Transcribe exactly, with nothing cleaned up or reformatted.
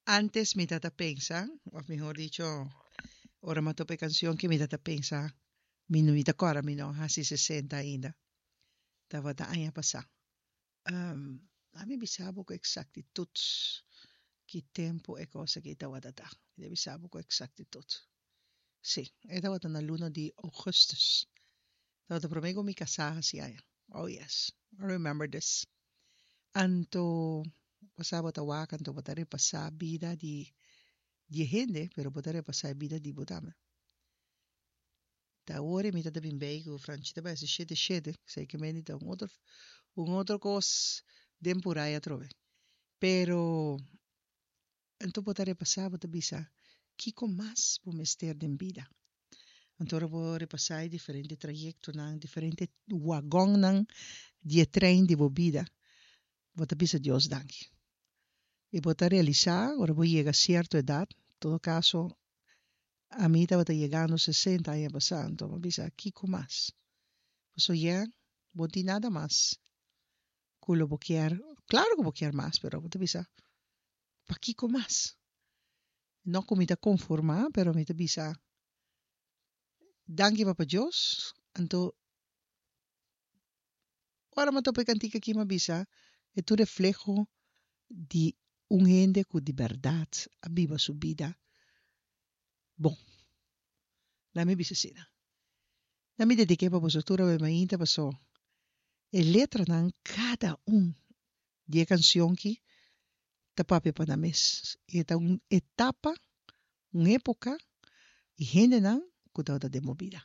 Antes mi tata pensa, of mihor dicho, ora mi a topa e cancion ki mi tata pensa, mi no mi ta cora mi no haci sesenta ainda. Tabata aña pasa. Um, laat mi bisa bo cu exactitud ki tempo e cos aki tabata ta. Mi ta bisa bo cu exactitud. Sí, e tabata na luna di augustus. Tabata prome cu mi casa haci aña. Oh yes, I remember this. Anto, bo sa bo ta wak, anto bo ta repasá bida di di e hende, pero bo ta repasá e bida di bo tambe. Ta awor e mi ta ta bin bei ku Franchi ta bai hasi shete shete, esei ke mende ta un otro un otro kos den purai atrobe. Pero anto bo ta repasá, bo ta bisa, kiko mas bo mester den bida? Anto ora bo repasá e diferente trayektonan, diferente wagonnan di e trein di bo bida, bo ta bisa Dios danki. I bo ta realisá ora bo yega sierto edat, todo kaso ami tabata yegando sesenta aña pasá, anto mi a bisa kiko mas? Pasobra ya bo no tin nada mas ku lo bo kier, klaro ku bo kier mas, pero bo ta bisa pakiko mas? No ku mi ta konformá, pero mi ta bisa danki Papa Dios, anto ora mi a topa e kantika aki mi a bisa e ta un refleho di un hende ku di bèrdat a biba su bida bon. Laat mi bisa asina. Laat mi dedik'é pa boso tur awe mainta paso e letranan kada un di e kansion ki ta papia pa nan mes. E ta un etapa, un epoka i hendenan ku tabata den bo bida.